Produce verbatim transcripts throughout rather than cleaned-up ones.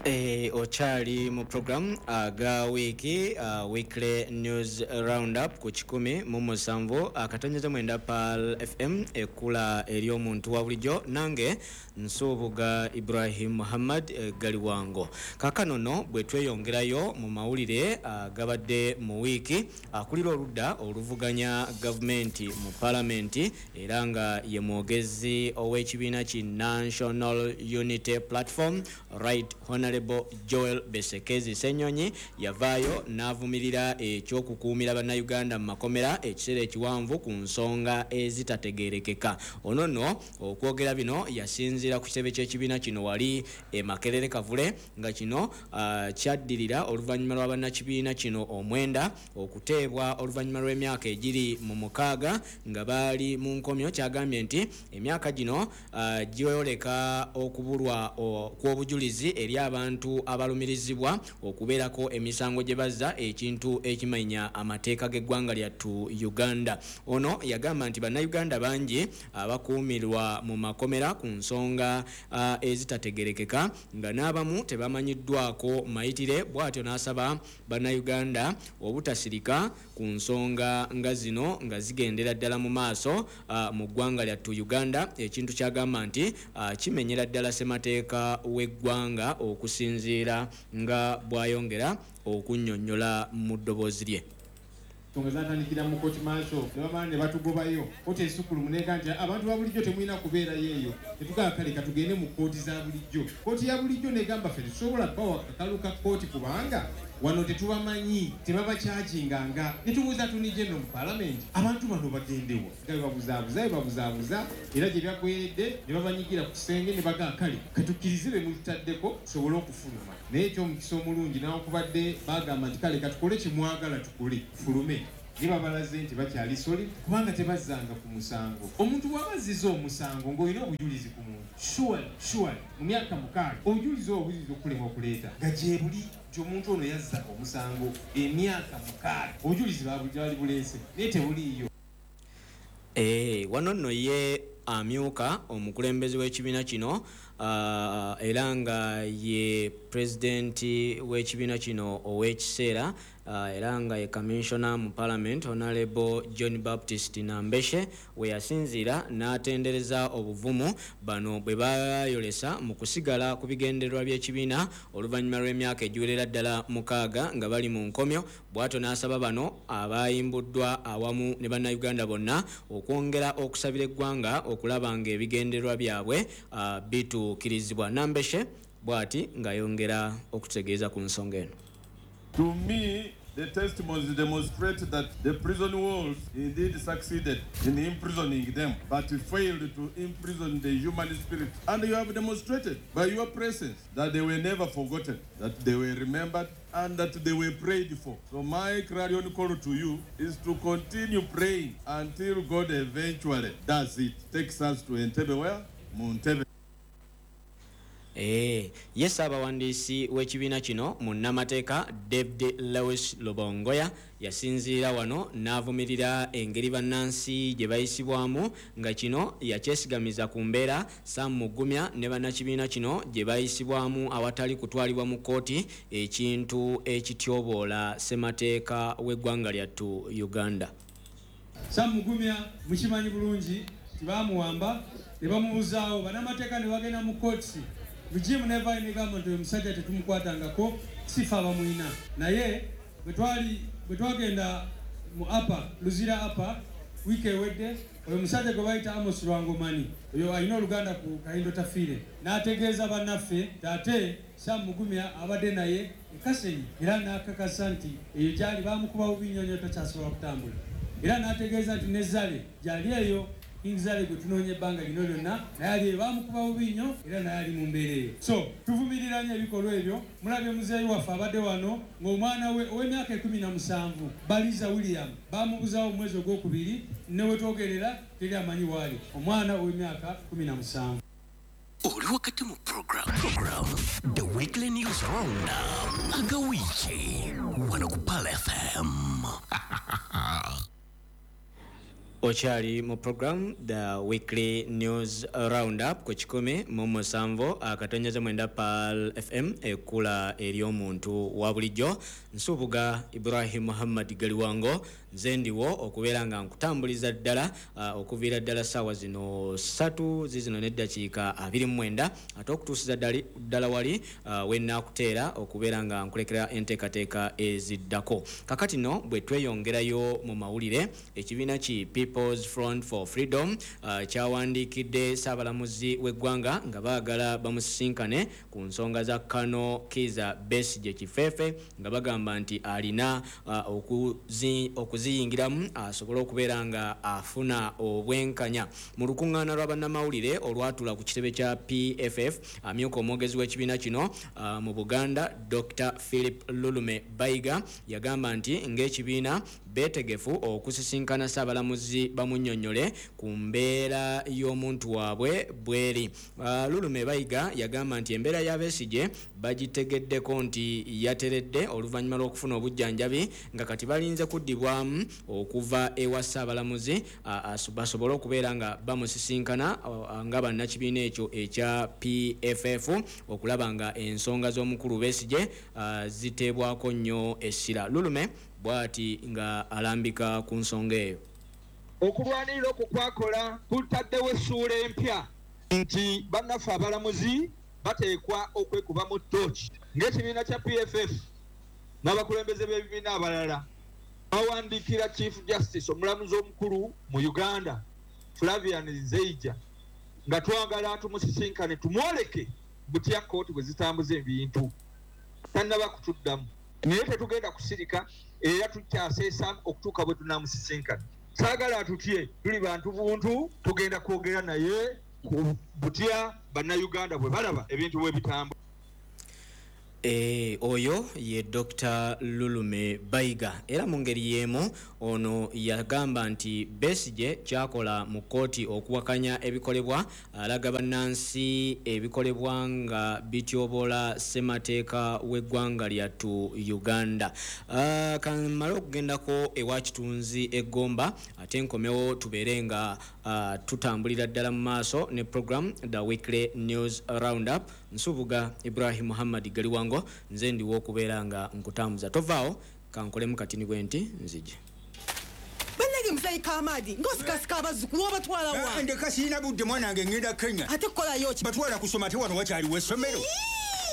Eh, okyali mu program aga wiiki uh, weekly news roundup ku kikumi mu musanvu akatonyeza mwenda Pearl F M, ekkula ery'omuntu wa bulijjo. Nange Nsubuga Ibrahim Muhammad eh, Galiwango. Kaakano nno bwe tweyongerayo mu mawulire agabadde mu wiiki, akulira oludda oluvuganya gavumenti mu palamenti era nga ye mwogezi ow'ekibiina ki National Unity Platform, Right Honorable Joel Besekezi Senyonyi, yavaayo n'avumirira ekyokukuumira Bannayuganda mu makomera ekiseera ekiwanvu ku nsonga ezitategeerekeka. Ono nno okwogera bino yasinziira ku kitebe ky'ekibiina kino wali e Makerere Kavule, nga kino uh, kyaddirira oluvannyuma lwa bannakibiina kino omwenda okuteebwa oluvannyuma lw'emyaka egiri mu mukaaga nga baali mu nkomyo. Kyagambye nti emyaka gino uh, gyoleka okubulwa kw'obujulizi eri abantu abalumirizibwa okubeerako emisango gye bazza, ekintu ekimenya amateeka g'eggwanga lyattu Uganda. Ono yagamba nti Bannayuganda bangi abakuumirwa mu makomera ku nsonga uh, ezitategerekeka nga n'abamu tebamanyiddwako mayitire. Bw'atyo n'asaba Bannayuganda obutasirika ku nsonga nga zino nga zigendera ddala mu maaso uh, mu ggwanga lyattu Uganda, ekintu kyagamba nti uh, kimenyera ddala ssemateeka w'eggwanga, okusinziira nga bw'ayongera okunnyonnyola mu ddoboozi lye. Ensonga zatandikira mu court martial, ne bamala ne batugobayo. Kooti ensukkulumu nega nti abantu ba bulijjo temulina kubeerayo eyo. Netugamba, kale katugende mu kooti za bulijjo. Kooti ya bulijjo negamba, ffe tetusobola kubawa kakalu ka kooti kubanga wano tetubamanyi, tebabakyaginganga. Netubuuza Attorney General mu palamenti, abantu bano bagendewa? Nga bebabuzaabuza, bebabuzaabuza, era gye byaggweredde ne babanyigira ku kisenge ne bagamba, kale katukkirize be mututaddeko tusobole okufuluma. Naye ekyomukisa omulungi, nawankubadde bagamba nti kale katukole kyemwagala tukole tufulume, ne babalaze nti bakyali solid kubanga tebazzanga ku musango. Omuntu bw'aba azziza omusango ng'olina obujulizi ku muntu, surely, surely mu myaka mukaaga obujulizi obwo buyinza okulemwa okuleeta nga gyebuli nti omuntu ono yazza omusango emyaka mukaaga, obujulizi baali buleese naye tebuliiyo. Eh, wano nno ye amyuka omukulembeze w'ekibiina kino uh, era nga ye pulezidenti w'ekibiina kino ow'ekiseera, uh, era nga ye commissioner mu parliament, Honorable John Baptist Nambeshe, we yasinziira n'atendereza obuvumu bano bwe bayolesa mu kusigala ku bigendererwa by'ekibiina oluvannyuma lw'emyaka egiwerera ddala mukaaga nga bali mu nkomyo. Bw'atyo n'asaba bano abayimbuddwa awamu ne Bannayuganda bonna okwongera okusabira eggwanga okulaba ng'ebigendererwa byabwe uh, bituukirizibwa. Nambeshe bw'ati ng'ayongera okutegeeza ku nsonga eno. To me, the testimonies demonstrate that the prison walls indeed succeeded in imprisoning them, but failed to imprison the human spirit. And you have demonstrated by your presence that they were never forgotten, that they were remembered, and that they were prayed for. So my clarion call to you is to continue praying until God eventually does it. Takes us to Entebbe where? Muntebe. Eh, ye ssaabawandiisi w'ekibiina kino, munnamateeka David Lewis Lubongoya, yasinziira wano n'avumirira engeri bannansi gye bayisibwamu, nga kino yakyesigamiza ku mbeera Sam Mugumya ne bannakibiina kino gye bayisibwamu awatali kutwalibwa mu kkooti, ekintu ekityoboola ssemateeka w'eggwanga lyattu Uganda. Sam Mugumya mukimanyi bulungi tibamuwamba ne bamubuzaawo, bannamateeka ne bagenda mu kooti, regime nevaayo negamba nti oyo musajja tetumukwatangako, sifa abamwina. Naye bwe bwe twagenda mu apa Luzira apa wiiki ewedde, oyo musajja gwe bayita Amos Lwangomani, oyo alina oluganda ku Kahindo Tafiire, n'ategeeza bannaffe ate Sam Mugumya abadde naye e Kasenyi, era n'akakasa nti eyo gyali bamukuba bubi nnyo nnyo, takyasobola kutambula. Era n'ategeeza nti ne Zale gyali eyo, King Zale gwe tunoonya ebbanga lino lyonna, naye ali eyo bamukuba bubi nnyo, era naye ali mu mbeera eyo. So tuvumirira nnyo ebikolwa ebyo. Mulabye muzeeyi waffe abadde wano ng'omwana we ow'emyaka ekumi na musanvu Baliza William bamubuzaawo mu mwezi ogwokubiri, ne wetwogerera teri amanyi waali omwana ow'emyaka kumi na musanvu. Oli wakati mu program program The Weekly News Roundup agawiiki wano ku Pearl F M. Okyali mu program The Weekly News Roundup ku kikumi mu musanvu akatonyeze mwenda Pearl F M, ekkula ery'omuntu wa bulijjo. Nsubuga Ibrahim Muhammad Galiwango, nze ndiwo okubeera nga nkutambuliza ddala uh, okuviira ddala ssaawa zino ssatu zizino n'eddakiika abiri mu mwenda, ate okutuusiza ddala wali uh, we nnaakuteera okubeera nga nkulekera enteekateeka eziddako. Kakati nno bwe tweyongerayo mu mawulire, ekibiina ki People's Front for Freedom uh, kyawandiikidde Ssaabalamuzi w'eggwanga nga baagala bamusisinkane ku nsonga za Kano Kiza Besigye Kifefe, nga bagamba nti alina uh, okuzi, okuziyingiramu asobole okubeera nga afuna obwenkanya. Mu lukuŋŋaana lwa bannamawulire olwatuula ku kitebe kya P F F, amyuka omwogezi w'ekibiina kino uh, mu Buganda, Doctor Philip Lulume Bayiga, yagamba nti ng'ekibiina beetegefu okusisinkana Ssaabalamuzi bamunnyonnyole ku mbeera y'omuntu waabwe bweri. Uh, Lulume Bayiga yagamba nti embeera ya Besigye bagitegeddeko nti yateredde oluvannyuma lw'okufuna obujjanjabi, nga kati balinze kuddibwamu okuva ewa Ssaabalamuzi uh, basobole okubeera nga bamusisinkana uh, nga bannakibiina ekyo ekya P F F okulaba nga ensonga z'omukulu Besigye uh, ziteebwako nnyo essira. Lulume bw'ati nga alambika ku nsonga eyo. Okulwanirira okwo kwakola kutaddewo essuula empya nti bannaffe abalamuzi bateekwa okwekubamu ttooki. Ng'ekibiina kya P F F n'abakulembeze b'ebibiina abalala bawandiikira Chief Justice, omulamuzi omukulu mu Uganda, Flavian Zeija, nga twagala tumusisinkane tumwoleke butya kkooti bwe zitambuza ebintu. Tannaba kutuddamu, naye tetugenda kusirika era tukyaseesa okutuuka bwe tunaamusisinkana. Saagala tutye, tuli bantu buntu, tugenda kwogera naye ku butya bannayuganda bwe balaba ebintu bwe bitambula. E, oyo ye Doctor Lulume Bayiga. Era mu ngeri y'emu ono yagamba nti Besigye kyakola mu kkooti okuwakanya ebikolebwa alaga bannansi ebikolebwa nga bityoboola ssemateeka w'eggwanga lyattu Uganda. Uh, kamale okugendako ewa Kitunzi e Gomba, ate nkomewo tubeere nga uh, tutambulira ddala mu maaso ne program The Weekly News Roundup. Nsubuga Ibrahim Muhammad Galiwango, nze ndiwo okubeera nga nkutambuza. Tovaawo, kankolemu katini bwe nti nzije. Bannange muzeeyi Kamadi, ng'osikasika abazzukulu obatwala wa? Ndeka sirina budde mwana wange, ngenda Kenya. Ate kukolayo ki? Batwala kusoma, ate wano wakyaliwo essomero.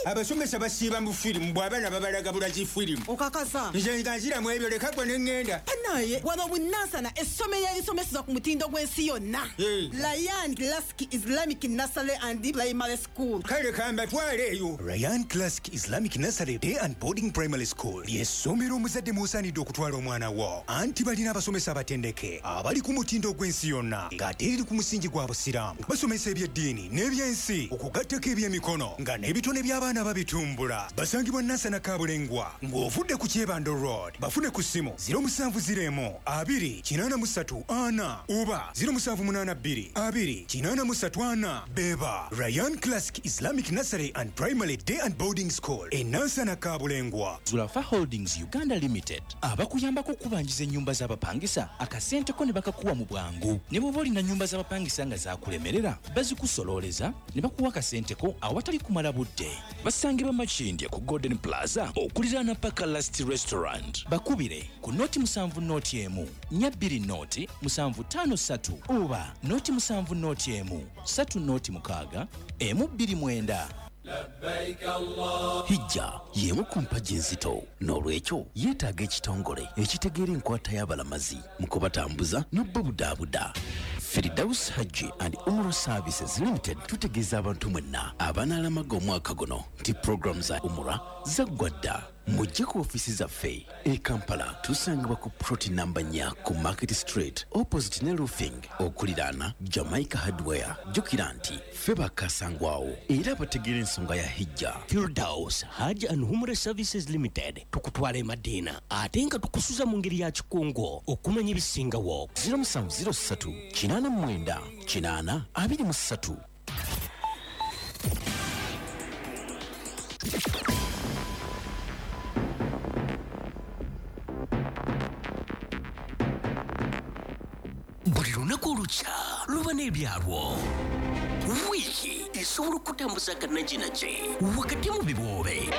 Abasomesa basiiba mu firimu, bw'abaana babalaga bulazi firimu. Okakasa? Nze nga nziramu ebyo, leka gwe ne ŋŋenda. Bannaye, wano Bunansana essomero erisomeseza ku mutindo gw'ensi yonna. Ryan Classic Islamic Nursery and Primary School. Kale kambatwale eyo. Ryan Classic Islamic Nursery Day and Boarding Primary School ly'essomero omuzadde mw'osaanidde okutwala omwana wo. Anti balina abasomesa abatendeke abali ku mutindo gw'ensi yonna, ng'ate eriri ku musingi gwa Busiraamu. Basomesa eby'eddiini n'ebyensi, okugattako eby'emikono, nga n'ebitone by'abaana babitumbula. Basangibwa Nansana Kabulengwa ng'ovudde ku Kyebando Road. Bafune ku ssimu ziro musanvu ziro emu abiri kinaana mu ssatu ana oba ziro musanvu munaana bbiri abiri kinaana mu ssatu ana. Beba Ryan Classic Islamic Nursery and Primary Day and Boarding School e Nansana Kabulengwa. Zulafa Holdings Uganda Limited abakuyambako okubanjiza ennyumba z'abapangisa, akasente ko ne bakakuwa mu bwangu. Ne bw'oba olina nnyumba z'abapangisa nga zaakulemerera, bazikusololeza ne bakuwa akasente ko awatali kumala budde. Basangibwa Makindye ku Golden Plaza okuliraana Paka Last Restaurant. Bakubire ku noti musanvu noti emu nnya bbiri noti musanvu ttaano ssatu oba noti musanvu noti emu ssatu noti mukaaga emu bbiri mwenda. Hijja y'emu ku mpagi enzito, n'olwekyo yeetaaga ekitongole ekitegeera enkwata y'abalamazi mu kubatambuza n'obubudaabuda. Firdaus Hajji and Umrah Services Limited tutegeeza abantu mwenna abanaalamaga omwaka guno nti puroguramu za Umrah zaggwa dda. Mujje ku ofiisi zaffe e Kampala, tusangibwa ku plot namba nnya ku Market Street opposite ne Roofing okuliraana Jamaica Hardware. Jjukira nti ffe bakasangwawo era bategeera ensonga ya Hijja. Firdaus Hajj and Umrah Services Limited tukutwala e Madina ate nga tukusuza mu ngeri ya kikungo okumanya ebisingawo. ziro musanvu ziro ssatu kinaana mu mwenda kinaana abiri mu ssatu. Buli Olunaku olukya luba n'ebyalwo. Wiiki esobola okutambuza akanajinagi wakati mu biboobe.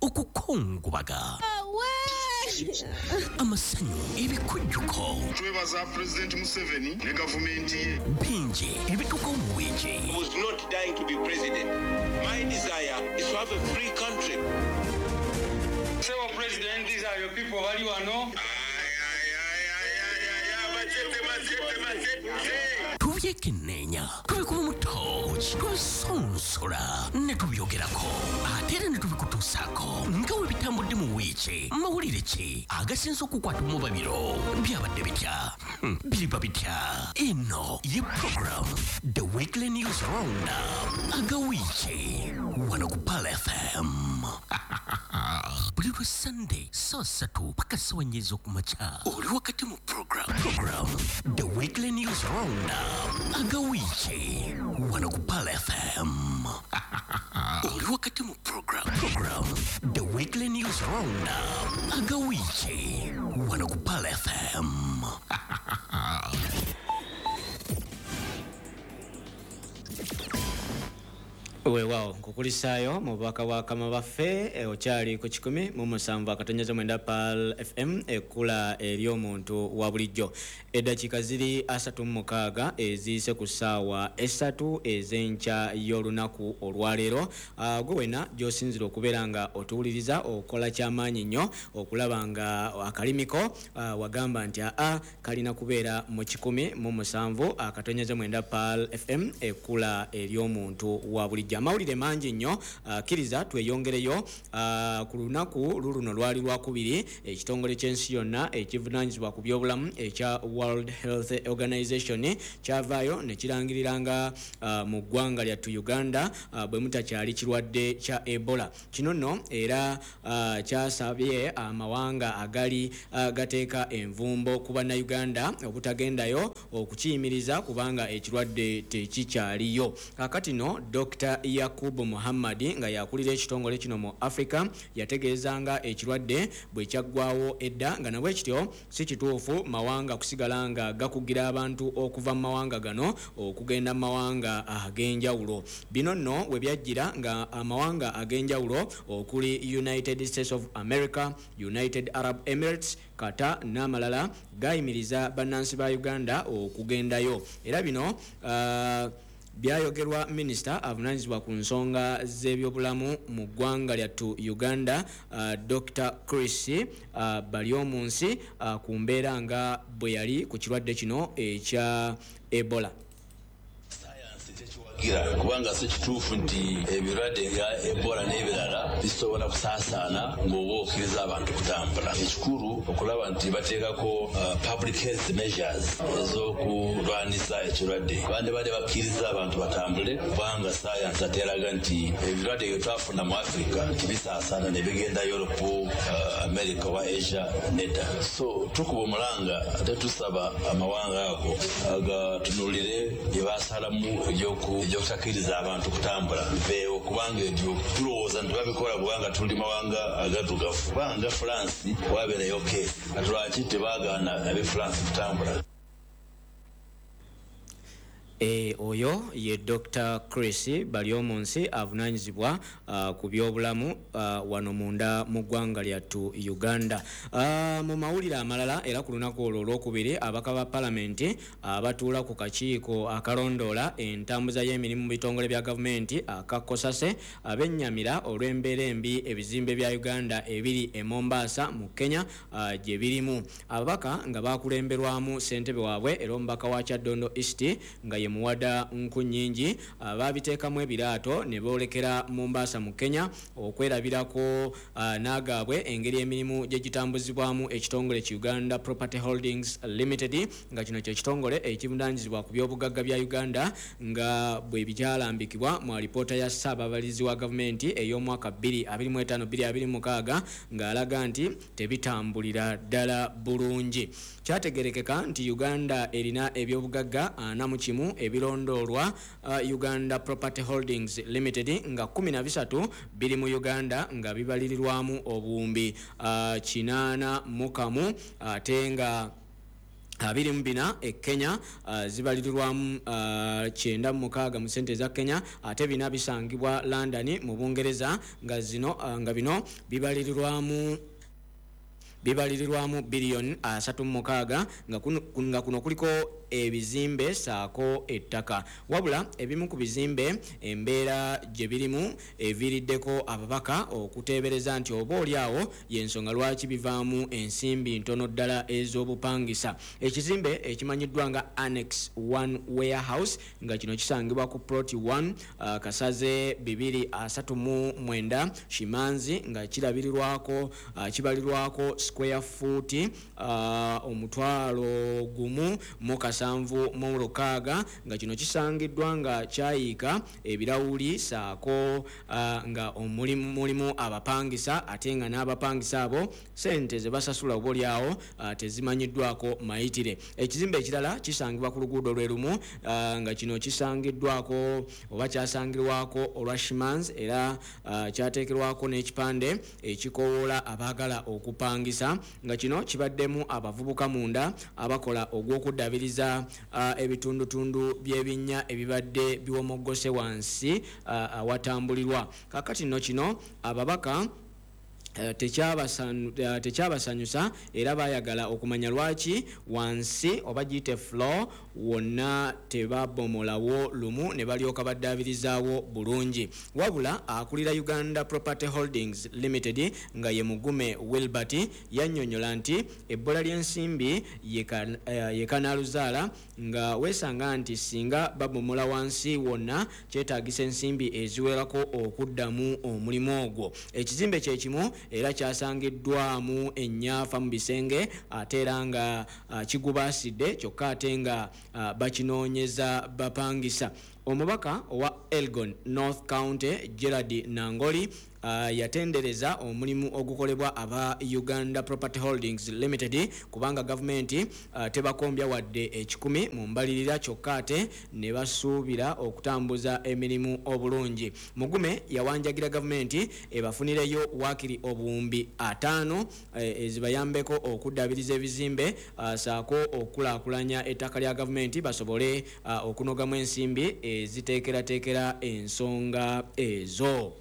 Okukungubaga, amasanyu, ebikujjuko. Twebaza President Museveni ne gavumenti ye. Bingi ebituuka mu wiiki. I was not dying to be president. My desire is to have a free country. Sebo President, these are your people bali wano. Tubyekenneenya, tubikuba mu ttooki, tubisonsola ne tubyogerako, ate era ne tubikutuusaako nga bwe bitambudde mu wiiki. Mawulire ki agasinze okukwata mu babiro? Byabadde bitya? Hmm, biriba bitya? Eno ye program The Weekly News Roundup aga wiiki wano ku Pearl F M buli lwa Sunday saa ssatu paka ssaawa nnya ez'okumakya. Oli wakati mu program program The Weekly News Roundup aga wiiki wano ku Pearl F M. Oli wakati mu program program The Weekly News Roundup aga wiiki wano ku Pearl F M. Weewaawo, nkukulisaayo mu bubaka bwa kama baffe. Okyali ku kikumi mu musanvu akatonyeza mwenda Pearl F M, ekkula ery'omuntu wa bulijjo. Eddakiika ziri asatu mu mukaaga eziyise ku ssaawa esatu ez'enkya y'olunaku olwaleero. Gwe wena gy'osinzira okubeera nga otuwuliriza, okola kyamaanyi nnyo okulaba nga akalimiko wagamba nti aa kalina kubeera mu kikumi mu musanvu akatonyeza mwenda Pearl F M, ekkula ery'omuntu wa bulijjo. Amawulire mangi nnyo, kkiriza tweyongereyo. Ku lunaku luluno lwali lwakubiri, ekitongole ky'ensi yonna ekivunaanyizibwa ku byobulamu ekya World Health Organization kyavaayo ne kirangirira nga mu ggwanga lyattu Uganda bwe mutakyali kirwadde kya Ebola. Kino nno era kyasabye amawanga agali gateeka envumbo ku bannayuganda obutagendayo okukiyimiriza kubanga ekirwadde tekikyaliyo. Kaakati nno Doctor Yakubu Muhammad nga yakulira ekitongole kino mu Africa yategeeza nga ekirwadde bwe kyaggwawo edda, nga nabwe kityo si kituufu mawanga kusigala nga gakugira abantu okuva mu mawanga gano okugenda mu mawanga ag'enjawulo. Bino nno we byajjira nga amawanga ag'enjawulo okuli United States of America, United Arab Emirates, Qatar n'amalala gayimiriza bannansi ba Uganda okugendayo. Era bino uh, byayogerwa minisita avunaanyizibwa ku nsonga z'ebyobulamu mu ggwanga lyattu Uganda, uh, Doctor Chris uh, Baryomunsi uh, ku mbeera nga bwe yali ku kirwadde kino ekya Ebola. Kubanga si kituufu nti ebirwadde nga Ebola n'ebirala bisobola kusaasaana ng'oba okkiriza abantu kutambula. Ekikulu okulaba nti bateekako uh, public health measures ez'okulwanisa ekirwadde. Bandi bali bakkiriza abantu batambule kubanga sayansi ateraga nti ebirwadde bye twafuna mu Africa nti bisaasaana ne bigenda Europe, uh, America oba Asia nedda. So tukuba omulanga ate tusaba amawanga ago agatunulire bye basalamu ebyoku ebyokutakiriza abantu kutambula biveewo, kubanga ebyo tulowooza nti babikola kubanga tuli mawanga agaddugavu. Kubanga France wabeerayo keesi, kati lwaki tebaagaana ab'e France kutambula? E, oyo ye Doctor Chris Baryomunsi avunaanyizibwa uh, ku byobulamu uh, wano munda mu ggwanga lyattu Uganda. Uh, mu mawulire amalala era ku lunaku olwo olwokubiri, ababaka ba palamenti abatuula uh, ku kakiiko akalondoola entambuza y'emirimu mu bitongole bya gavumenti akakosase abennyamira olw'embeera embi ebizimbe bya Uganda ebiri e Mombasa mu Kenya uh, gye birimu. Ababaka nga bakulemberwamu ssentebe waabwe era omubaka wa Kyaddondo East nga ye Muwada Nkunnyingi babiteekamu ebiraato ne boolekera Mombasa mu Kenya okwerabirako uh, n'agaabwe engeri emirimu gye gitambuzibwamu ekitongole ki Uganda Property Holdings Limited, nga kino kye kitongole ekivunaanyizibwa ku byobugagga bya Uganda nga bwe bikyalambikibwa mu alipoota ya Ssaababalirizi wa gavumenti ey'omwaka bbiri abiri mu etaano bbiri abiri mu mukaaga ng'alaga nti tebitambulira ddala bulungi. Kyategerekeka nti Uganda erina ebyobugagga ana mu kimu ebirondoolwa uh, Uganda Property Holdings Limited, nga kumi na bisatu biri mu Uganda nga bibalirirwamu obuwumbi uh, kinaana mu kamu, ate nga abiri mu bina e Kenya uh, zibalirirwamu uh, kyenda mu mukaaga mu ssente za Kenya, ate bina bisangibwa London mu Bungereza nga zino uh, nga bino bibalirirwamu bibalirirwamu biliyoni asatu mu mukaaga, nga kuno, nga kuno kuliko ebizimbe saako ettaka. Wabula ebimu ku bizimbe embeera gye birimu eviiriddeko ababaka okuteebereza nti oba oli awo y'ensonga lwaki bivaamu ensimbi ntono ddala ez'obupangisa. Ekizimbe ekimanyiddwa nga Annex one Warehouse nga kino kisangibwa ku plot one uh, Kasaze bibiri asatu mu mwenda Shimanzi, nga kirabirirwako uh, kibalirwako square foot uh, omutwalo gumu mu kasanvu mu lukaaga, nga kino kisangiddwa nga kyayiika ebirawuli saako uh, nga omulimu mulimu abapangisa, ate nga n'abapangisa abo sente ze basasula oba oli awo uh, tezimanyiddwako mayitire. Ekizimbe ekirala kisangibwa ku luguudo lwe lumu uh, nga kino kisangiddwako oba kyasangirwako olwa Shimans, era uh, kyateekerwako n'ekipande ekikowoola abaagala okupangisa, nga kino kibaddemu abavubuka munda abakola ogw'okuddabiriza uh, ebitundutundu by'ebinnya ebibadde biwomoggose wansi uh, awatambulirwa. Kaakati nno kino ababaka tekyabasanyusa era baayagala okumanya lwaki wansi oba giyite floor wonna tebabomolawo lumu ne balyoka baddaabirizaawo bulungi. Wabula akulira Uganda Property Holdings Limited nga ye Mugume Wilbert yannyonnyola nti ebbola ly'ensimbi ye kanaaluzaala, nga weesanga nti singa babomola wansi wonna kyetaagisa ensimbi eziwerako okuddamu omulimu ogwo. Ekizimbe kye kimu era kyasangiddwamu ennyafa mu bisenge, ate era nga uh, kigubaasidde, kyokka ate nga uh, bakinoonyeza bapangisa. Omubaka owa Elgon North County Gerard Nangoli uh, yatendereza omulimu ogukolebwa aba Uganda Property Holdings Limited kubanga gavumenti uh, tebakombya wadde ekikumi mu mbalirira, kyokka ate ne basuubira okutambuza emirimu obulungi. Mugume yawanjagira gavumenti ebafunireyo waakiri obuwumbi ataano eh, ezibayambeko okuddabiriza ebizimbe uh, saako okukulaakulanya ettaka lya gavumenti basobole uh, okunogamu ensimbi eziteekerateekera ensonga ezo.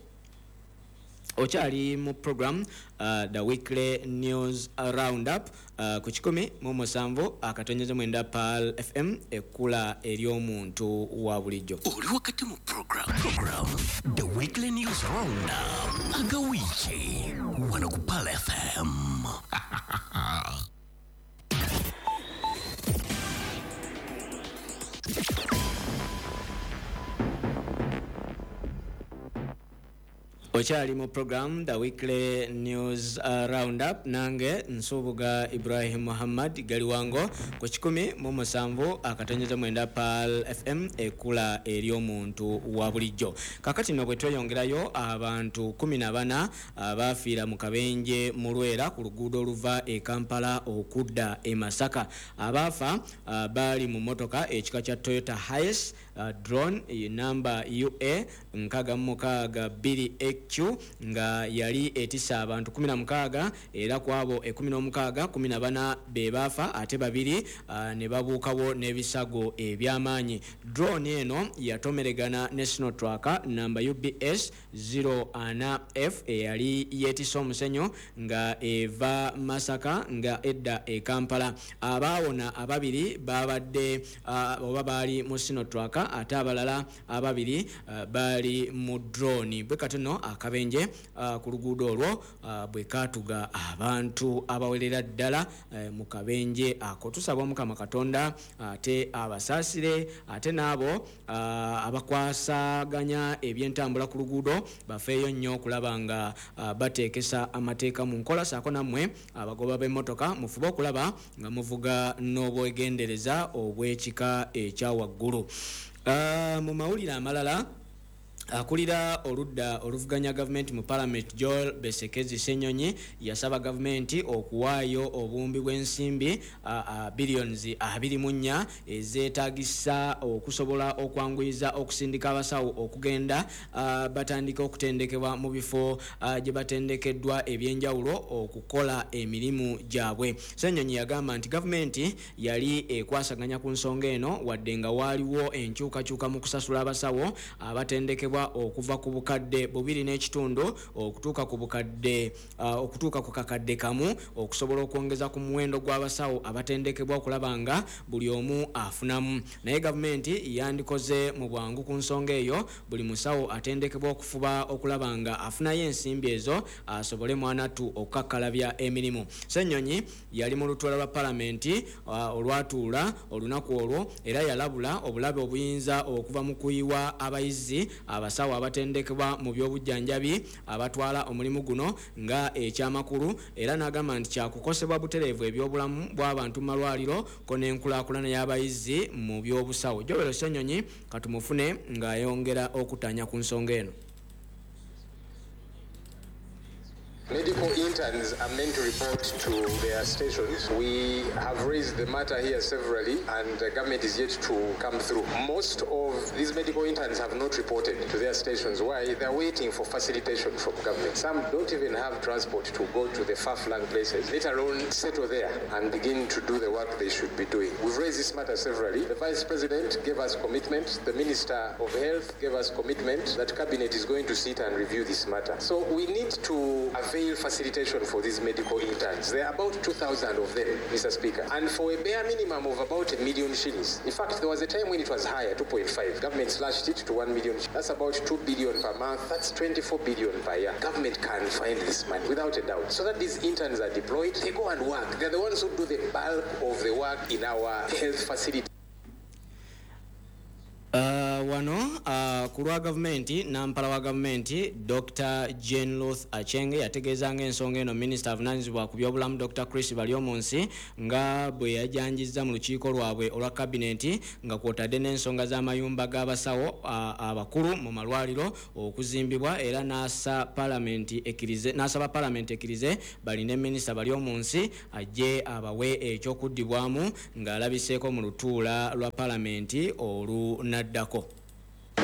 Okyali mu program uh, the weekly news roundup uh, ku kikumi mu musanvu akatonyeze mwenda Pearl F M ekkula ery'omuntu wa bulijjo. Oli wakati mu program, program the weekly news roundup agawiiki wano ku Pearl F M. Okyali mu program the weekly news uh, roundup nange Nsubuga Ibrahim Muhammad Galiwango ku kikumi mu musanvu akatonyeze mwenda Pearl F M ekula ery'omuntu wa bulijjo. Kakati nno bwe tweyongerayo abantu kumi na bana abaafiira mu kabenje mu Lwera ku luguudo oluva e Kampala okudda e Masaka. Abaafa uh, baali mu mmotoka ekika kya Toyota Hiace uh, drone namba U A nkaga mukaaga bbiri Q nga yali etisa abantu kumi na mukaaga, era kwabo ekumi n'omukaaga kumi na bana be baafa ate babiri uh, ne babuukawo n'ebisago eby'amaanyi. Drone eno yatomeregana ne Sinotruk namba U B S zero ana F eyali yeetisa omusenyu nga eva Masaka nga edda e Kampala. Abaawona ababiri babadde uh, oba baali mu Sinotruk ate abalala ababiri uh, baali mu drone. Bwe katono akabenje uh, ku luguudo olwo uh, bwe katuga abantu abawerera ddala uh, mu kabenje ako. Tusaba Omukama Katonda ate uh, abasaasire ate n'abo uh, abakwasaganya ebyentambula ku luguudo bafeeyo nnyo okulaba nga uh, bateekesa amateeka mu nkola, saako nammwe abagoba b'emmotoka mufube okulaba nga muvuga n'obwegendereza obw'ekika ekya waggulu. Uh, mu mawulire amalala, Akulira oludda oluvuganya gavumenti mu parliament Joel Besekezi Ssenyonyi yasaba gavumenti okuwaayo obuwumbi bw'ensimbi billions abiri mu nnya ezeetaagisa okusobola okwanguyiza okusindika abasawo okugenda batandika okutendekebwa mu bifo gye batendekeddwa ebyenjawulo okukola emirimu gyabwe. Ssenyonyi yagamba nti gavumenti yali ekwasaganya ku nsonga eno wadde nga waaliwo enkyukakyuka mu kusasula abasawo abatendekebwa okuva ku bukadde bubiri n'ekitundu okutuuka ku bukadde uh, okutuuka ku kakadde kamu okusobola okwongeza ku muwendo gw'abasawo abatendekebwa okulaba nga buli omu afunamu. Naye gavumenti yandikoze mu bwangu ku nsonga eyo, buli musawo atendekebwa okufuba okulaba nga afunayo ensimbi ezo asobole mwanattu okukakkalabya emirimu. Ssenyonyi yali mu lutuula lwa palamenti uh, olwatuula olunaku olwo era yalabula obulabe obuyinza okuva mu kuyiwa abayizi abasawo abatendekebwa mu by'obujjanjabi abatwala omulimu guno nga ekyamakulu, era n'agamba nti kyakukosebwa butereevu ebyobulamu bw'abantu mu malwaliro ko n'enkulaakulana y'abayizi mu by'obusawo. Joel Ssenyonyi katumufune ng'ayongera okutanya ku nsonga eno. Medical interns are meant to report to their stations. We have raised the matter here severally and the government is yet to come through. Most of these medical interns have not reported to their stations. Why? They're waiting for facilitation from government. Some don't even have transport to go to the far-flung places, let alone settle there and begin to do the work they should be doing. We've raised this matter severally. The Vice President gave us commitment. The Minister of Health gave us commitment that Cabinet is going to sit and review this matter. So we need to avail facilitation for these medical interns. There are about two thousand of them, Mister Speaker, and for a bare minimum of about a million shillings. In fact, there was a time when it was higher, two point five. Government slashed it to one million. That's about two billion per month. That's twenty-four billion per year. Government can find this money without a doubt. So that these interns are deployed, they go and work. They're the ones who do the bulk of the work in our health facility. Uh, wano uh, ku lwa gavumenti nampala wa gavumenti Doctor Jane Ruth Achenge yategeeza ng'ensonga eno minisita avunaanyizibwa ku byobulamu Doctor Chris Baryomunsi nga bwe yajanjizza mu lukiiko lwabwe olwa kabineti nga kwotadde n'ensonga z'amayumba g'abasawo uh, abakulu mu malwaliro okuzimbibwa, era n'asa palamenti ekkirize n'asaba palamenti ekkirize balinde minisita Baryomunsi ajje abawe ekyokuddibwamu ng'alabiseeko mu lutuula lwa palamenti oluna.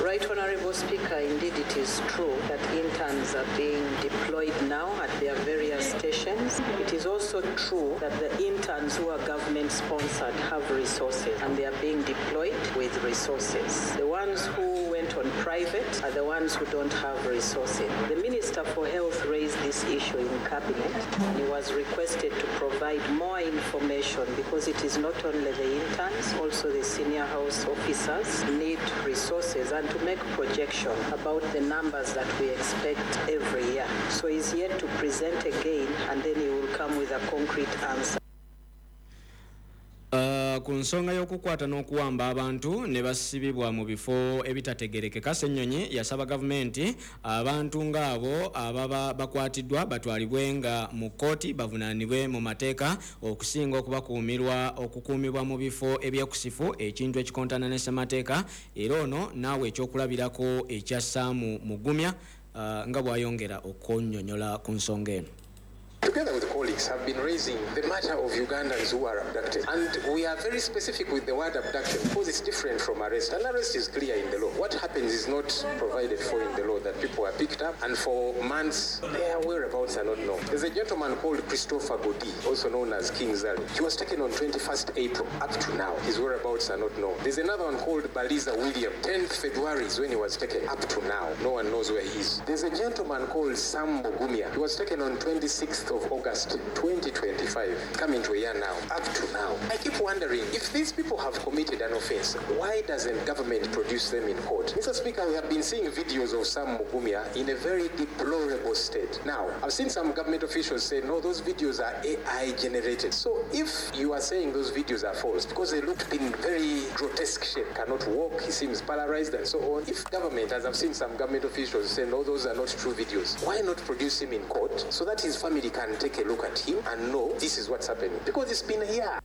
Right Honorable Speaker, indeed it is true that interns are being deployed now at their various stations. It is also true that the interns who are government sponsored have resources and they are being deployed with resources. The ones who went on private are the ones who don't have resources. The Minister for Health raised this issue in Cabinet and he was requested to provide more information because it is not only the interns, also the senior house officers need resources and to make projection about the numbers that we expect every year. So he's yet to present again and then he will come with a concrete answer. Uh, ku nsonga y'okukwata n'okuwamba abantu ne basibibwa mu bifo ebitategerekeka, Ssenyonyi yasaba gavumenti abantu ng'abo ababa bakwatiddwa batwalibwe nga mu kkooti bavunaanibwe mu mateeka okusinga okubakuumirwa okukuumibwa mu bifo ebyekusifu, ekintu ekikontana ne ssemateeka. Era ono naawe ekyokulabirako ekya Sam Mugumya uh, nga bw'ayongera okunnyonnyola ku nsonga eno. Together with colleagues, have been raising the matter of Ugandans who are abducted. And we are very specific with the word abduction because it's different from arrest. And arrest is clear in the law. What happens is not provided for in the law, that people are picked up and for months their whereabouts are not known. There's a gentleman called Christopher Godi, also known as King Zari. He was taken on twenty-first April. Up to now, his whereabouts are not known. There's another one called Baliza William. tenth February is when he was taken. Up to now, no one knows where he is. There's a gentleman called Sam Mugumya. He was taken on twenty-sixth of August twenty twenty-five, coming to a year now. Up to now, I keep wondering, if these people have committed an offense, why doesn't government produce them in court? Mister Speaker, we have been seeing videos of Sam Mugumya in a very deplorable state. Now, I've seen some government officials say, no, those videos are A I generated. So if you are saying those videos are false, because they look in very grotesque shape, cannot walk, he seems paralyzed and so on. If government, as I've seen some government officials say, no, those are not true videos, why not produce him in court so that his family can take a look at him and know this is what's happening? Because it's been a year.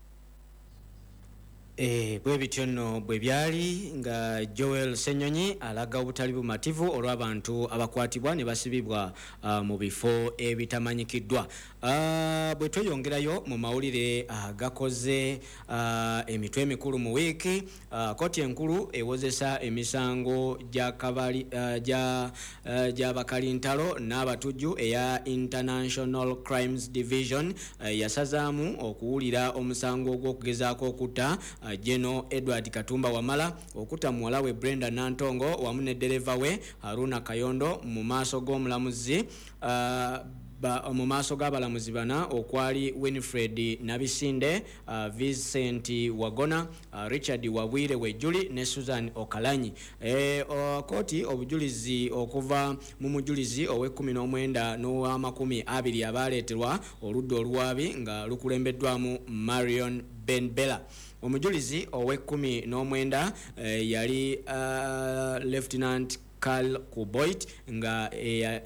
Eh, bwe bityo nno bwe byali nga Joel Ssenyonyi alaga obutali bumativu olw'abantu abakwatibwa ne basibibwa uh, mu bifo ebitamanyikiddwa. Uh, bwe tweyongerayo mu mawulire agakoze uh, emitwe emikulu mu wiiki, uh, kkooti enkulu ewozesa emisango gya kabali uh, gya uh, gy'abakalintalo n'abatujju eya International Crimes Division uh, yasazaamu okuwulira omusango ogw'okugezaako okutta uh, General Edward Katumba Wamala, okutta muwala we Brenda Nantongo wamu ne ddereva we Haruna Kayondo mu maaso g'omulamuzi uh, mu maaso g'abalamuzi bana okwali Winfred Nabisinde, uh, Vincent Wagona, uh, Richard Wabwire Wejuli ne Susan Okalanyi. E, kooti obujulizi okuva mu mujulizi ow'ekkumi n'omwenda n'ow'amakumi abiri abaleeterwa oludda oluwaabi nga lukulembeddwamu Marion Benbella. Omujulizi ow'ekkumi n'omwenda eh, yali uh, Lieutenant Carl Kuboit nga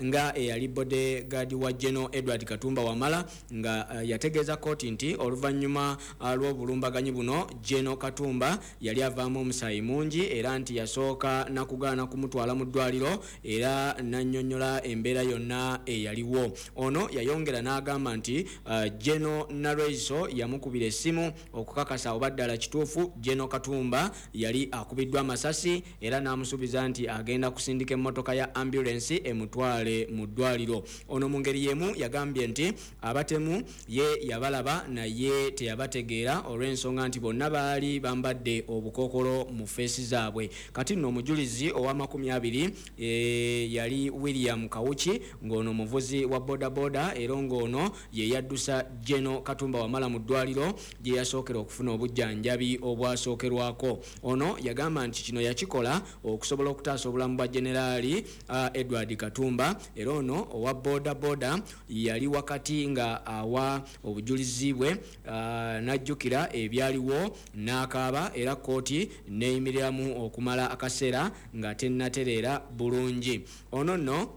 nga eyali bodyguard wa General Edward Katumba Wamala nga uh, yategeeza kooti nti oluvannyuma uh, lw'obulumbaganyi buno General Katumba yali avaamu omusaayi mungi era nti yasooka nakugaana kumutwala mu ddwaliro era nannyonnyola embeera yonna eyaliwo. Ono yayongera n'agamba nti uh, General Nalweyiso yamukubira essimu okukakasa oba ddala kituufu General Katumba yali akubiddwa amasasi era n'amusuubiza nti agenda kusindika emmotoka ya ambulance emutwale mu ddwaliro. Ono mu ngeri y'emu yagambye nti abatemu ye yabalaba naye teyabategeera olw'ensonga nti bonna baali bambadde obukookolo mu feesi zaabwe. Kati nno omujulizi ow'amakumi abiri e, yali William Kawuki ng'ono muvuzi wa bodaboda era ng'ono ye yaddusa General Katumba Wamala mu ddwaliro gye yasookera okufuna obujjanjabi obwasookerwako. Ono yagamba nti kino yakikola okusobola okutaasa obulamu bwa Generali uh, Edward Katumba era ono owa boda boda yali wakati nga awa obujulizi bwe uh, n'ajjukira ebyaliwo n'akaaba era kkooti neeyimiriramu okumala akaseera nga tennatereera bulungi. Ono nno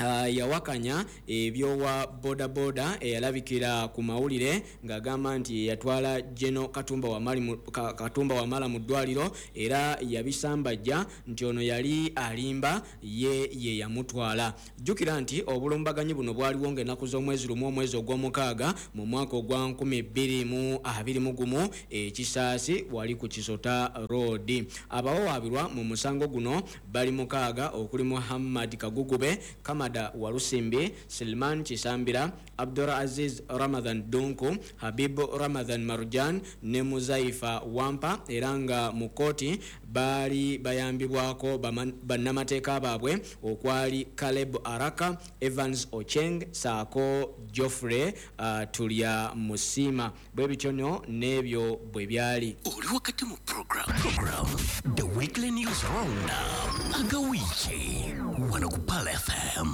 Uh, yawakanya ebyowa boda boda eyalabikira ku mawulire ng'agamba nti yatwala General Katumba Wamala mu, ka, Katumba Wamala mu ddwaliro era yabisambajja nti ono yali alimba ye ye yamutwala. Jjukira nti obulumbaganyi buno bwaliwo ng'ennaku z'omwezi lumu omwezi ogw'omukaaga mu mwaka ogwa nkumi bbiri mu abiri mu gumu ekisaasi wali ku Kisota Road. Abawawaabirwa mu musango guno bali mukaaga okuli Muhammad Kagugube, Kamada Walusimbi, Silman Chisambira, Abdul Aziz Ramadhan Dunku, Habib Ramadhan Marjan ne Muzaifa Wampa era nga mu kkooti baali bayambibwako bannamateeka baabwe okwali Caleb Araka, Evans Ocheng saako Geoffrey uh, Tulya Musima. Bwe bityo nno n'ebyo bwe byali. Oli wakati mu program, program The Weekly News Roundup agawiiki wano ku Pearl F M.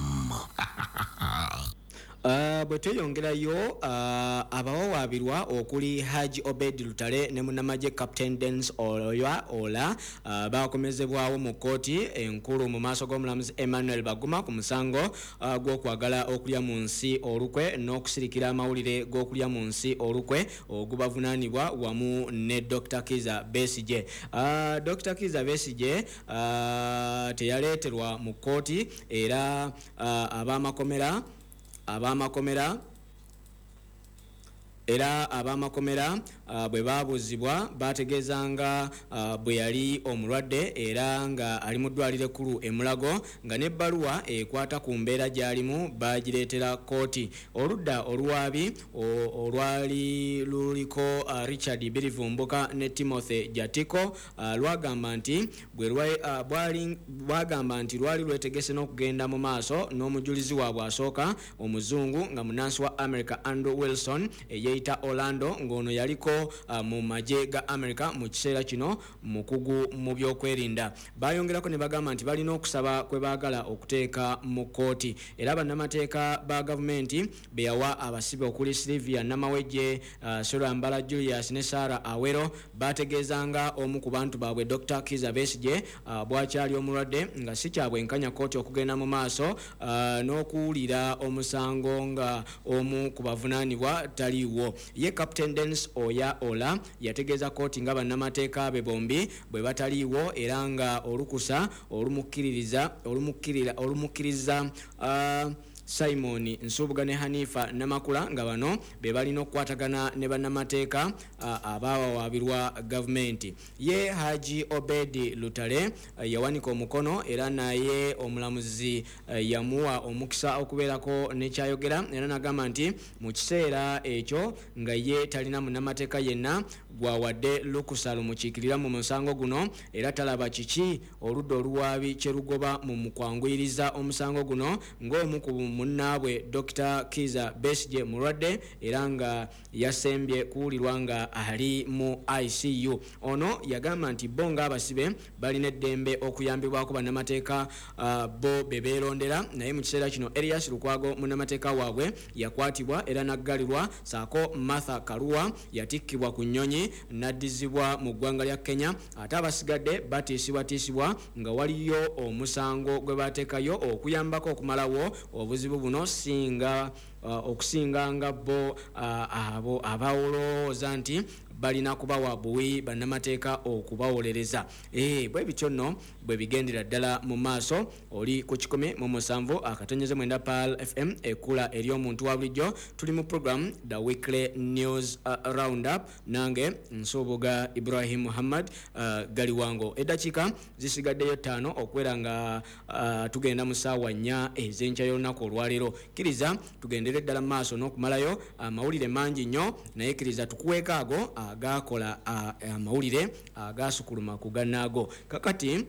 Uh, bwe tweyongerayo uh, abawawaabirwa okuli Haji Obed Lutale ne munnamagye Captain Dennis Oya Ola uh, bakomezebwawo mu kkooti enkulu mu maaso g'omulamuzi Emmanuel Baguma ku musango uh, gw'okwagala okulya mu nsi olukwe n'okusirikira amawulire g'okulya mu nsi olukwe ogubavunaanibwa wamu ne Doctor Kizza Besigye. Uh, Doctor Kizza Besigye uh, teyaleeterwa mu kkooti era uh, ab'amakomera ab'amakomera era ab'amakomera uh, bwe baabuzibwa bategeezanga uh, bwe yali omulwadde era nga ali mu ddwaliro ekkulu e Mulago nga n'ebbaluwa ekwata ku mbeera gy'alimu bagireetera kkooti. Oludda oluwaabi olwali luliko uh, Richard Birivumbuka ne Timothy Jatiko uh, lwagamba nti bwe uh, bwagamba nti lwali lwetegese n'okugenda mu maaso n'omujulizi waabwe asooka omuzungu nga munnansi wa America Andrew Wilson eye Orlando ng'ono yaliko uh, mu magye ga America mu kiseera kino mukugu mu byokwerinda. Bayongerako ne bagamba nti balina okusaba kwe baagala okuteeka mu kkooti era bannamateeka ba gavumenti be yawa abasibe okuli Sylvia Namawejje, uh, Surambala Julius ne Sarah Awero bategeezanga omu ku bantu baabwe Doctor Kizza Besigye uh, bw'akyali omulwadde nga si kya bwenkanya kkooti okugenda mu maaso uh, n'okuwulira omusango nga omu ku bavunaanibwa taliiwo. Ye Captain Dennis Oya Stecia Ola yategeeza kkooti nga bannamateeka be bombi bwe bataliiwo era nga olukusa olumukkiririza olumukkirira olumukkiriza uh, Simon Nsubuga ne Hanifa Namakula nga bano be balina okukwatagana ne bannamateeka uh, abawawaabirwa gavumenti. Ye Haji Obedi Lutale uh, yawanika omukono era naye omulamuzi uh, yamuwa omukisa okubeerako nekyayogera era n'agamba nti mu kiseera ekyo nga ye talina munnamateeka yenna gwawadde lukusa lumukiikirira mu musango guno era talaba kiki oludda oluwaabi kye lugoba mu mukwanguyiriza omusango guno ng'omu ku munnaabwe Dokita Kiza Besigye mulwadde era nga yasembye kuwulirwa nga ali mu I C U. Ono yagamba nti bo ng'abasibe balina eddembe okuyambibwako bannamateeka uh, bo be beerondera, naye mu kiseera kino Erias Lukwago munnamateeka waabwe yakwatibwa era n'aggalirwa, ssaako Martha Karua yatikkibwa ku nnyonyi n'addizibwa mu ggwanga lya Kenya, ate abasigadde batiisibwatiisibwa nga waliyo omusango gwe bateekayo okuyambako okumalawo obuzibu buno singa uh, okusinga nga bo uh, abo abawolooza nti balina kubawa buwi bannamateeka okubawolereza. Eh, bwe bityo nno bwe bigendera ddala mu maaso. Oli ku kikumi mu musanvu akatonyeze mwenda Pearl F M ekula ery'omuntu wa bulijjo. Tuli mu program The Weekly News uh, Roundup, nange Nsubuga Ibrahim Muhammad uh, Galiwango. Eddakiika zisigaddeyo ttaano okubeera nga uh, tugenda mu ssaawa nnya ez'enkya y'olunaku olwaleero. Kkiriza tugendere ddala mu maaso n'okumalayo amawulire mangi nnyo, naye kkiriza tukuweeko ago agakola amawulire agasukuluma ku gannaago. Kakati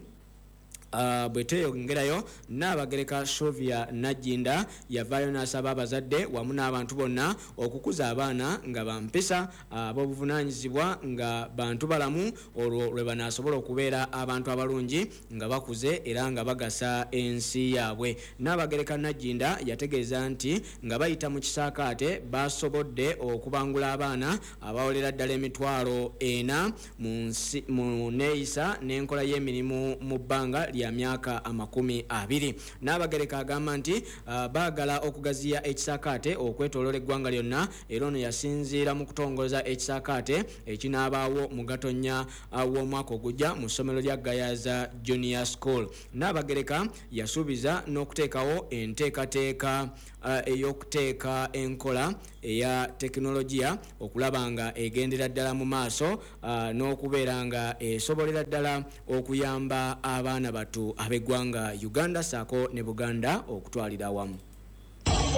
Uh, bwe tweyongerayo, Nnaabagereka Sylvia Nagginda yavaayo n'asaba abazadde wamu n'abantu bonna okukuza abaana nga bampisa ab'obuvunaanyizibwa nga bantu balamu, olwo lwe banaasobola okubeera abantu abalungi nga bakuze era nga bagasa ensi yaabwe. Nnaabagereka Nagginda yategeeza nti nga bayita mu kisaakaate basobodde okubangula abaana abawolera ddala emitwalo ena mu nsi mu neeyisa n'enkola y'emirimu mu bbanga lya myaka amakumi abiri. Nnaabagereka agamba nti uh, baagala okugaziya ekisaakaate okwetooloola eggwanga lyonna, era ono yasinziira mu kutongoza ekisaakaate ekinaabaawo mu Gatonnya uh, w'omwaka ogujja mu ssomero lya Gayaza Junior School. Nnaabagereka yasuubiza n'okuteekawo enteekateeka uh, ey'okuteeka enkola eya tekinologiya okulaba nga egendera ddala mu maaso uh, n'okubeera nga esobolera ddala okuyamba abaana batu ab'eggwanga Uganda ssaako ne Buganda okutwalira awamu.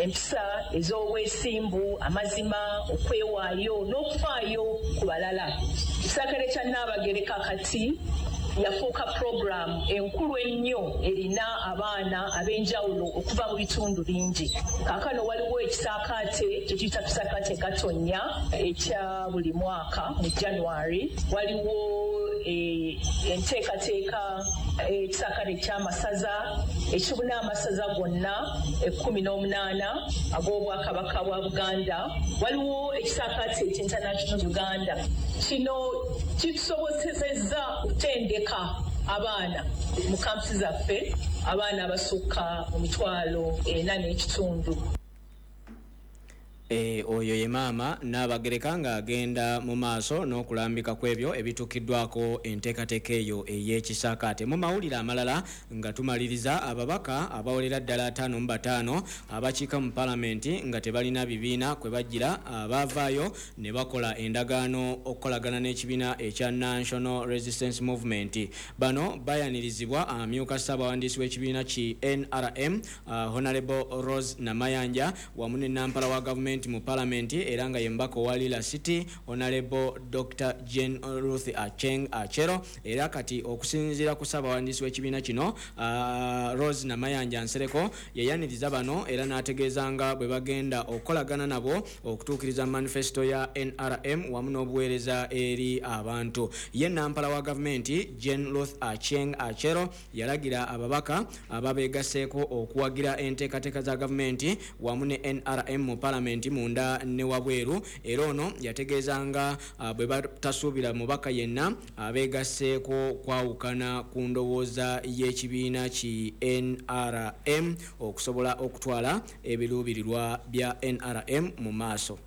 Empisa ez'obwesimbu, amazima, okwewaayo n'okufaayo ku balala. Ekisaakaate kya Nnaabagereka kati yafuuka puroguramu enkulu ennyo erina abaana ab'enjawulo okuva mu bitundu bingi. Kaakano waliwo ekisaakaate kye tuyita Kisaakaate Gatonnya ekya buli mwaka mu January. Waliwo enteekateeka ekisaakaate eky'amasaza ekibuna amasaza gonna ekkumi n'omunaana ag'Obwakabaka bwa Buganda. Waliwo ekisaakaate eky'International Uganda. Kino kitusobozesezza okutendeka abaana mu kampusi zaffe, abaana abasukka mu mitwalo ena n'ekitundu. E, oyo ye maama Nnaabagereka ng'agenda mu maaso n'okulambika ku ebyo ebituukiddwako enteekateeka eyo ey'ekisaakaate. Mu mawulire amalala nga tumaliriza, ababaka abawolera ddala ataano mu bataano abakiika mu paalamenti nga tebalina bibiina kwe bajjira baavaayo ne bakola endagaano okukolagana n'ekibiina ekya National Resistance Movement. Bano bayanirizibwa amyuka ssaabawandiisi w'ekibiina ki N R M uh, Honorable Rose Namayanja wamu ne nampala wa gavumenti mu parliament era nga ye mbaka wa Lira City Honorable Doctor Jane Ruth Acheng Achero. Era kati okusinziira ku ssaabawandiisi w'ekibiina kino uh, Rose Namayanja Nsereko yayaniriza bano era n'ategeeza nga bwe bagenda okukolagana nabo okutuukiriza manifesto ya N R M wamu n'obuweereza eri abantu. Ye nampala wa gavumenti Jane Ruth Acheng Achero yalagira ababaka ababeegaseeko okuwagira enteekateeka za gavumenti wamu ne N R M mu parliament munda ne wabweru, era ono yategeeza nga uh, bwe batasuubira mubaka yenna abeegasseeko kwawukana ku ndowooza y'ekibiina ki N R M okusobola okutwala ebiruubirirwa bya N R M mu maaso.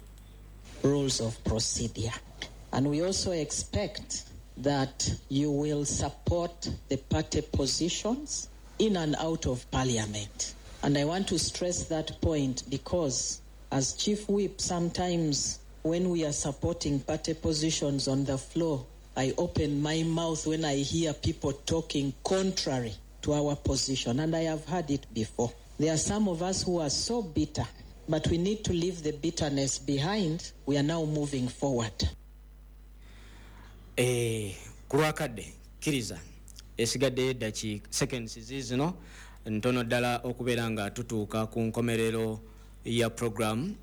Rules of procedure. And we also expect that you will support the party positions in and out of parliament. And I want to stress that point because as chief whip, sometimes when we are supporting party positions on the floor, I open my mouth when I hear people talking contrary to our position, and I have heard it before. There are some of us who are so bitter, but we need to leave the bitterness behind. We are now moving forward. Eh, kulwakadde kkiriza esigaddeyo eddakiika seconds ziizino ntono ddala okubeera nga tutuuka ku nkomerero ya program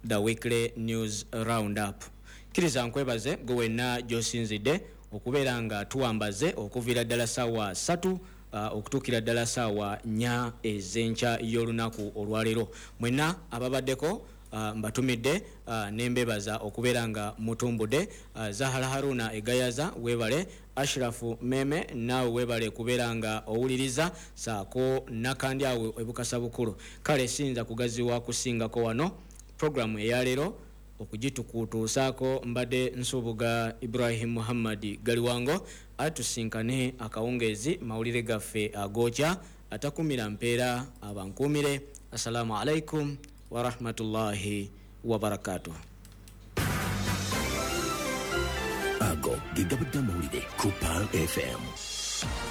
the weekly news roundup. Kkiriza nkwebaze gwe wenna gy'osinzidde okubeera nga tuwambaze okuviira ddala ssaawa ssatu uh, okutuukira ddala ssaawa nnya ez'enkya y'olunaku olwaleero. Mwenna ababaddeko uh, mbatumidde uh, nembebaza okubeera nga mutumbudde. uh, Zahara Haruna Egayaza webale, Ashrafu Meme naawe webale kubeera nga owuliriza, saako nakandi awe ebukasa bukulu. Kale siyinza kugaziwa kusingako wano programu eyaleero okugitukutuusaako mbadde Nsubuga Ibrahim Muhammad Galiwango. Atusinkane akawungeezi mawulire gaffe agokya atakumira mpeera abankuumire. Assalamu alaikum wa rahmatullahi wa barakatuh. Ago ge gabadde amawulire ku Pearl F M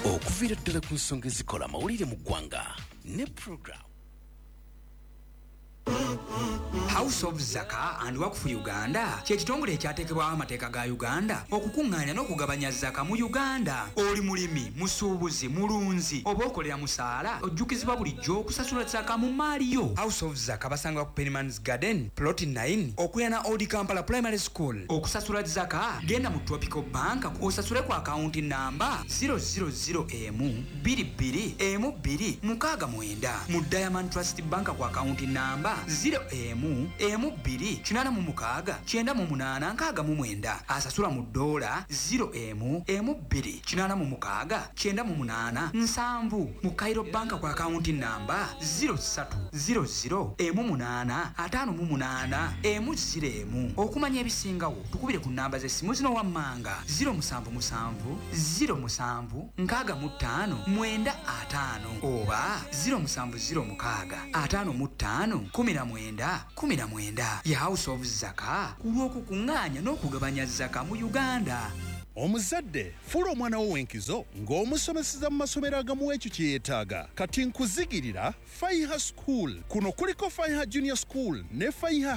okuviira ddala ku nsonga ezikola amawulire mu ggwanga ne program House of Zaka and Wakfu Uganda kye kitongole ekyateekebwawo amateeka ga Uganda okukuŋŋaanya n'okugabanya zaka mu Uganda. Oli mulimi, musuubuzi, mulunzi oba okolera musaala, ojjukizibwa bulijjo okusasula zaka mu maali yo. House of Zaka basangibwa ku Pennyman's Garden plot nine okuliraana Old Kampala Primary School. Okusasula zaka genda mu Tropical Bank osasule ku akawunti namba zero zero zero emu bbiri bbiri emu bbiri mukaaga mwenda, mu Diamond Trust Bank ku akawunti namba zero emu emu bbiri kinaana mu mukaaga kyenda mu munaana nkaaga mu mwenda. Asasula mu ddoola zero emu emu bbiri kinaana mu mukaaga kyenda mu munaana nsanvu, mu Cairo Bank ku akawunti namba zero ssatu zero zero emu munaana ataano mu munaana emu zero emu. Okumanya ebisingawo tukubire ku namba z'essimu zino wammanga zero musanvu musanvu zero musanvu nkaaga mu ttaano mwenda ataano oba zero musanvu zero mukaaga ataano mu ttaano kumi na mwenda kumi na mwenda. Ye House of Zaka ku lw'okukuŋŋaanya n'okugabanya zaka mu Uganda. Omuzadde fuula omwana wo w'enkizo ng'omusomeseza mu masomero agamuwa ekyo kye yeetaaga. Kati nkuzigirira Faiha School. Kuno kuliko Faiha Junior School ne Faiha